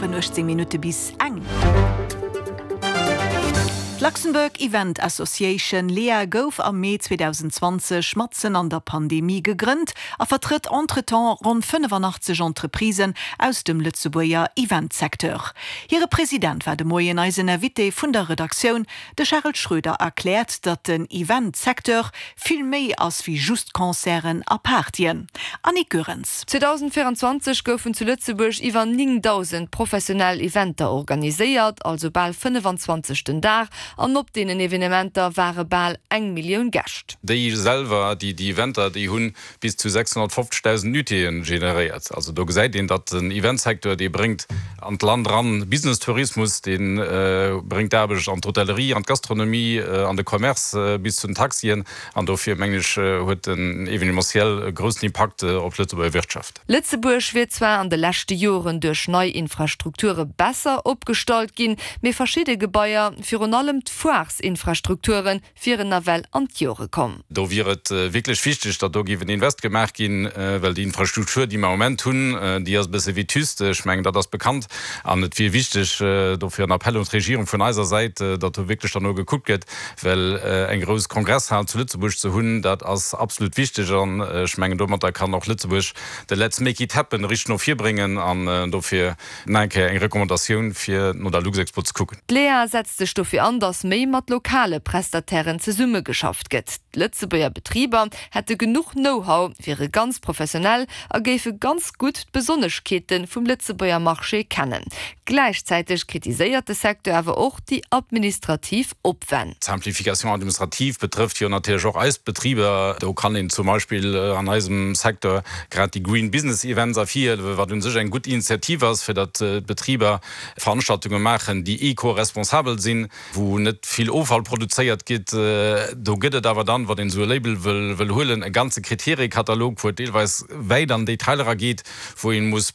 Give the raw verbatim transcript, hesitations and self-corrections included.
Geschwënn uechtzéng Minutte bis eng. D'Luxembourg Event Association, LEA, gouf am Mee zweedausendzwanzeg matzen an der Pandemie gegrënnt a vertrëtt entretemps ronn fënnefanachtzeg Entreprisen aus dem Lëtzebuerger Eventsecteur. Hire President war de Moien eisen Invité vun der Redaktioun. De Charel Schroeder erkläert, datt den Eventsecteur vill méi ass wéi just Concerten a Partyen. Annick Goerens. zweedausendvéieranzwanzeg goufen zu Lëtzebuerg iwwer néngdausend professionell Eventer organiséiert, also bal fënnefanzwanzeg den Dag. An op deenen Evenementer ware bal eng Millioun Gäscht. Déi selwer, déi déi Eventer, déi hunn bis zu sechshonnertfofzegdausend Nuitéeën generéiert. Also do gesäit een, datt den Eventsecteur, dee bréngt an d'Land eran Business-Tourismus, dee bréngt Aarbecht an d'Hotellerie, an d'Gastronomie, an de Commerce bis zu den Taxien. An dofir, mengen ech, huet den Evenementiel e groussen Impakt op d'Lëtzebuerger Wirtschaft. Lëtzebuerg wier zwar an de leschte Joren duerch nei Infrastrukture besser opgestallt ginn, mee verschidde Gebaier, virun allem d'Foires-Infrastrukture wieren nawell an d'Jore komm. Do wier et wierklech wichteg, datt do géif en Invest gemaach ginn, well déi Infrastruktur, déi mer am Moment hunn, déi ass e bësse vétuste. Ech mengen, dat ass bekannt. An et wier wichteg, dofir en Appell un d'Regierung vun eiser Säit, datt do wierklech dann no gekuckt gëtt, well eng grouss Kongresshal zu Lëtzebuerg ze hunn, dat ass absolut wichteg. An ech mengen, domatter kann och Lëtzebuerg de Let's make it happen richteg no vir bréngen. An dofir nach eng Kéier eng Recommandatioun, fir no der Luxexpo ze kucken. D'Lea setzt sech dofir an, datt méi mat lokale Prestatairen zesummegeschafft gëtt. D'Lëtzebuerger Betriber hätte genuch Know-how, wiere ganz professionell a géife ganz gutt d'Besonneschkeete vum Lëtzebuerger Marché kennen. Gläichzäiteg kritiséiert de Secteur awer och déi administrativ Opwänn. D'Simplification administrative betrëfft jo natierlech och eis Betriber. Do kann een zum Beispill an eisem Secteur grad déi Green Business Events ervirhiewen, wat u sech eng gutt Initiativ ass, fir datt d'Betriber Veranstaltunge maachen, déi eco-responsabel sinn, wou net vill Offall produzéiert gëtt. Do gëtt et awer dann, wann een esou e Label wëll huelen, e ganze Kriteriekatalog, wou et deelweis wäit an d'Detailer erageet, wou ee muss